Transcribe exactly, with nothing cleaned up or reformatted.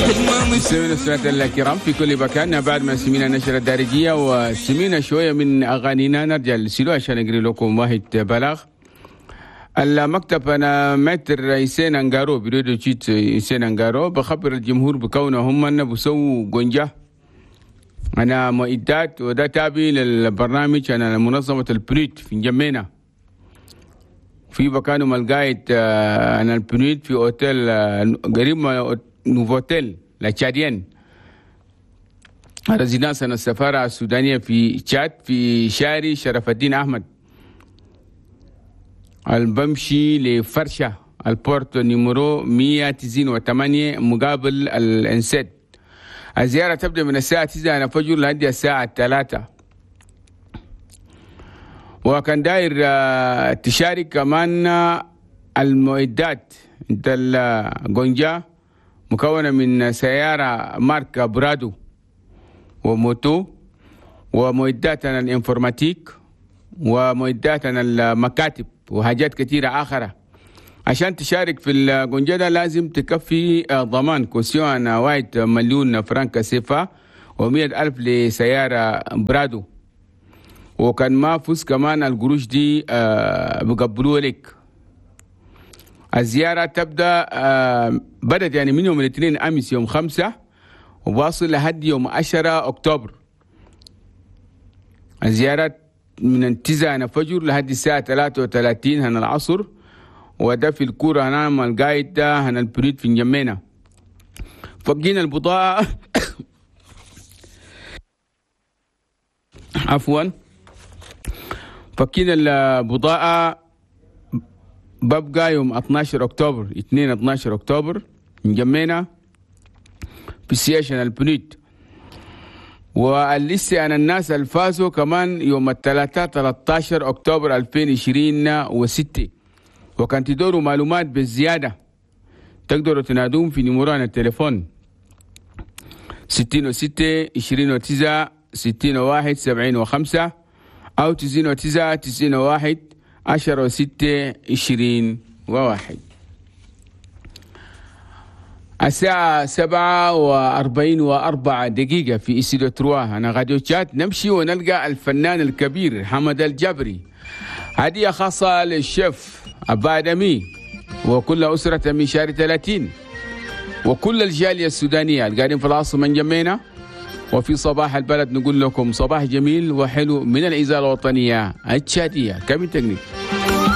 مستمعينا الكرام في كل مكان، بعد ما سمينا النشرة الدارجية وسمينا شوية من أغانينا، نرجع للسلو عشان نقري لكم واحد بلاغ. المكتب أنا maître حسين أنجارو، bureau d'études حسين أنجارو، بخبر الجمهور بكونه هم بسووا قنجة أنا معدات، وده تابع للبرنامج أنا منظمة ال PNUD في انجمينا، في مكانهم القايد أنا ال PNUD في أوتيل قريب من Novotel La Tchadienne، résidence السفارة السودانية في تشاد، في شارع شرف الدين أحمد البمشي لفرشة، ال porte numéro مية وتسعين وثمانية مقابل الانسد. الزيارة تبدأ من الساعة تسعة الفجر لحد الساعة ثلاثة. وكان داير تشارك كمان، المعدات انت الجونجا مكونة من سيارة ماركة برادو و moto ومعداتنا ال informatique ومعداتنا المكاتب وحاجات كثيرة آخرة. عشان تشارك في الجونجا ده لازم تكفي ضمان caution واحد مليون فرنك سيفا ومية ألف لسيارة برادو، وكان ما فوز كمان القروش دي بقبلوها لك. الزيارة تبدأ، بدأت يعني من يوم الاثنين أمس يوم خمسة وواصل لحد يوم عشرة أكتوبر. الزيارات من تسعة الفجر لحد الساعة ثلاثة وثلاثين هنا العصر، وده في الكورة هنا مع القايد ده هنا ال PNUD في انجمينا. فقين البضاعة، عفوا، فكين البضاعة ببقى يوم اتناشر اكتوبر، اتنين اتناشر اكتوبر، انجمينا في siège ال PNUD. ولسه أنا الناس الفازوا كمان يوم الثلاثاء ثلاثة عشر أكتوبر ألفين وعشرين وستة. وكان تدوروا معلومات بالزيادة تقدروا تنادون في numéro التليفون ستين وستة عشرين وتسعة ستين وواحد سبعين وخمسة أو تسعين وتسعة تسعين وواحد عشرة وستة عشرين وواحد. الساعة سبعة وأربعين وأربعة دقيقة في استوديو trois هنا راديو تشاد. نمشي ونلقى الفنان الكبير حمد الجبري، هدية خاصة للشيف أبادمي وكل أسرة من شهر ثلاثين وكل الجالية السودانية القاعدين في العاصمة انجمينا. وفي صباح البلد نقول لكم صباح جميل وحلو من الإذاعة الوطنية التشادية. cabine technique.